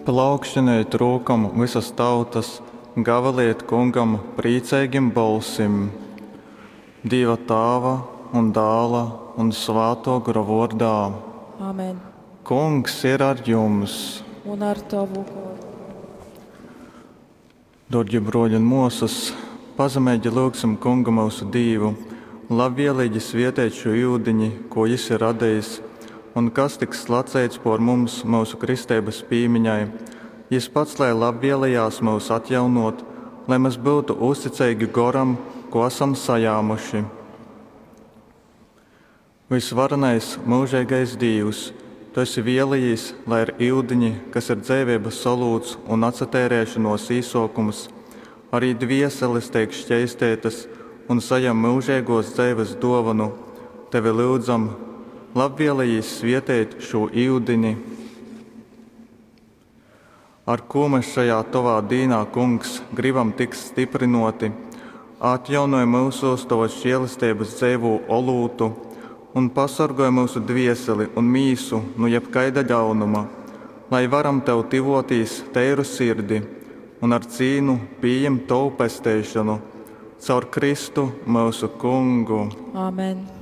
Plaukštinejit rūkom vysas tautas, gavilejit Kungam prīceigim bolsim. Dīva Tāva un Dāla un Svātō Gora vōrdā. Amen. Kungs ir ar jums! Un ar tovu goru. Dōrgi brōļi un mōsas, pazemeigi lyugsim Kungu myusu Dīvu labvieleigi svieteit šū iudiņi, kū Jis ir radejis un kas tiks slaceits pōr mums myusu kristeibas pīmiņai. Jis pats lai labvielejās myus atjaunōt, lai mes byutu uzticeigi Goram, kū asam sajāmuši. Vysvarenais, myužeigais Dīvs, Tu esi vēlējīs, lai ar iudiņi, kas ir dzeiveibas olūts un atsateireišonōs īsōkums, ari dvieseles teik škeisteitas un sajam myužeigōs dzeives dōvonu. Tevi lyudzam, labvielejīs svieteit šū iudini, ar kū mes šajā Tovā dīnā, Kungs, gribam tikt styprynōti. Atjaunoj myusūs Tovas žielesteibas dzeivū olūtu un pasorgoj myusu dvieseli un mīsu nu jebkaida ļaunuma, lai varam Tev tyvōtīs teiru sirdi un ar cīnu pījimt Tovu pesteišonu. Caur Kristu, myusu Kungu. Amen.